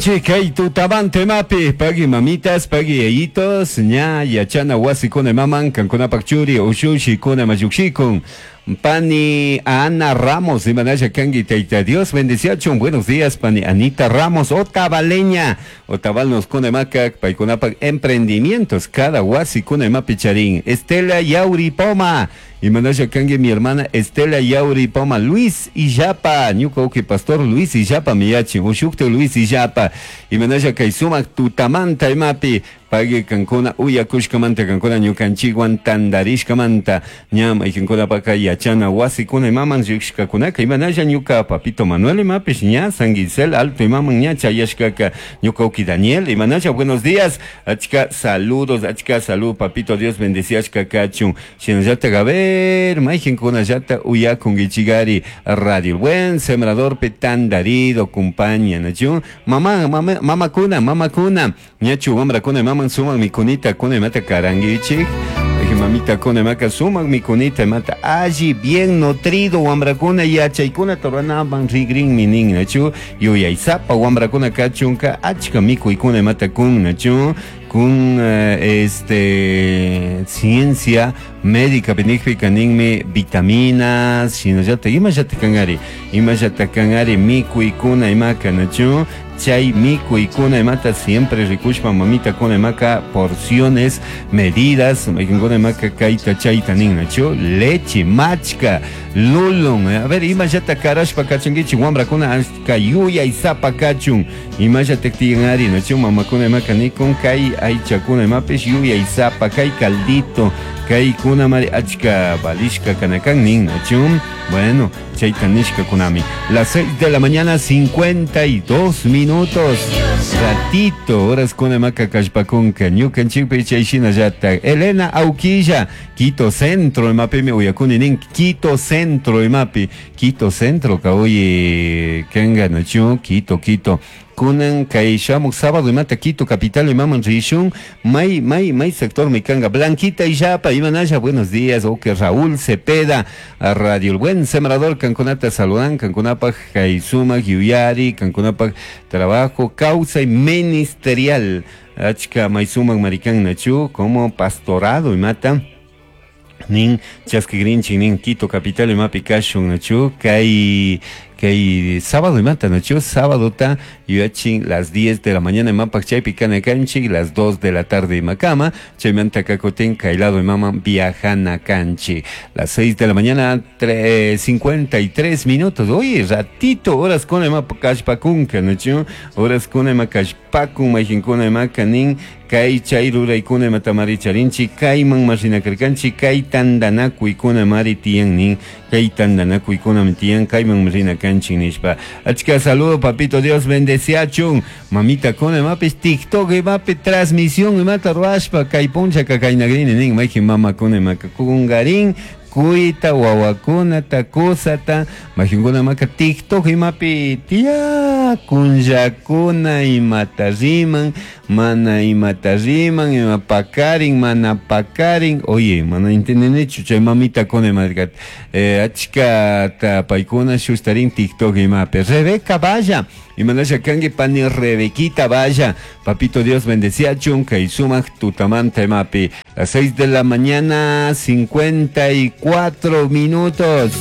Kay tutamanta imapi pagui mamitas, pagui yayitos, ña yachana wasikuna imaman kankunapak churi ushushikuna ima llukshikun. Pani Ana Ramos, imanalla kanki Tayta Dios bendiciachun. Buenos días, pani Anita Ramos, Otavaleña. Otavalnos kuna imaka paykunapak emprendimientos cada wasikuna imapi charin. Estela Yauri Poma, imanalla kanki mi hermana Estela Yauri Poma, Luis Illapa, ñuka uki pastor Luis Illapa miyachin, ushukta Luis Illapa, imanalla kay sumak tutamanta imapi, pagui kankuna uyakushkamanta, kankuna ñukanchikwan tandarishkamanta, ña maykankunapaka yachana wasikuna imaman llushkakunaka, imanalla ñuka papito Manuel imapish ña San Gisel Alto imaman ña chayashkaka, ñuka uki Daniel, imanalla buenos días, achka saludos, achka salud, papito Dios bendeciashka kachun, shinallatak a ver, maykankunallata uyakunkichikari Radio El Buen Sembrador pe tandarido compañía, nachu, mama, mama, mamakuna, mamakuna, ñachu wamrakuna imaman sumak mikunita kuna imata karankichik, mamita kuna imaka sumak mikunita imata alli bien nutrido wamrakuna yachaykuna ruranaman rigrinmi nin, nachu, yuyaysapa wamrakuna kachunka achka mikuykuna imata kun, nachu, kun este ciencia médica pinikpika ninmi vitaminas, shinallata imallata kankari, imallata kankari mikuykuna imaka, nachu, chay mikuykuna imata siempre rikushpa mamita kuna imaka porciones, medidas, maykankuna imaka kayta chayta nin, nachu, leche, machka, lulun, a ver, imallata karashpa kachunkichik wamrakuna achka yuyaysapa kachun, imallata tiyanari, nachu, mamakuna imaka nikun kay aychakuna imapish yuyaysapa, kay caldito, kay kuna mari achka valishka kanakan nin, nachu, bueno, chayta nishka kunami. Las 6 de la mañana, 52 minutos. Ratito, horas kuna maka kallpakunka, ñukanchikpi chay shinallata. Elena Auquilla, Quito Centro, imapimi uyakuni nin, Quito Centro, imapi, Quito Centro, ka oye, kanga, nachu, Quito, Quito. Kunan kay shamuk sábado imata Quito capital imaman rishun, may, may, may sector mikanga, Blanquita Illapa, imanalla, buenos días, oke Raúl Cepeda, a Radio El Buen Sembrador, kankunata saludan, kankunapak kay sumak yuyari, kankunapak trabajo, causa y ministerial, achka may sumak marikan nachu, como pastorado imata, nin chaskigrinchik nin Quito capital imapi kashun nachu, kay kay sábado imata nachu, sábado ta yuyachin las 10 de la mañana imapak chaypi kana kanchik, las 2 de la tarde imakama, chaymanta kakutin kay lado imama viajana kanchik, las 6 de la mañana 53 minutos, oye, ratito, horas kuna imapa kallpakunka nachu, horas kuna ima kallpakun, mayqinkuna imaka nin, kay chay ruraykuna imatamari charinchik, kayman marinakarkanchik, kay tantanakuykuna mari tiyan nin, kay tantanakuykuna tiyan, kayman marinakanchik nishpa. Achka saludo, papito Dios bendeciachun, mamita kuna imapis TikTok imapi transmisión imata ruashpa, kay punchaka kaynagrini nin, mayqin mamakuna imaka kungarin, kuyta, wawakunata, kusata, mayqinkuna imaka TikTok imapi tiyakunllakuna imata riman, mana imata riman, ima pakarin, mana pakarin, oye, mana entendenichu chay mamita kuna imaka, achkata paykuna shustarin TikTok imapi. Rebeca Valla, imanasha kanki pani Rebequita Valla, papito Dios bendeciachun, kay sumak tutamanta imapi. Las 6 de la mañana, 54 minutos.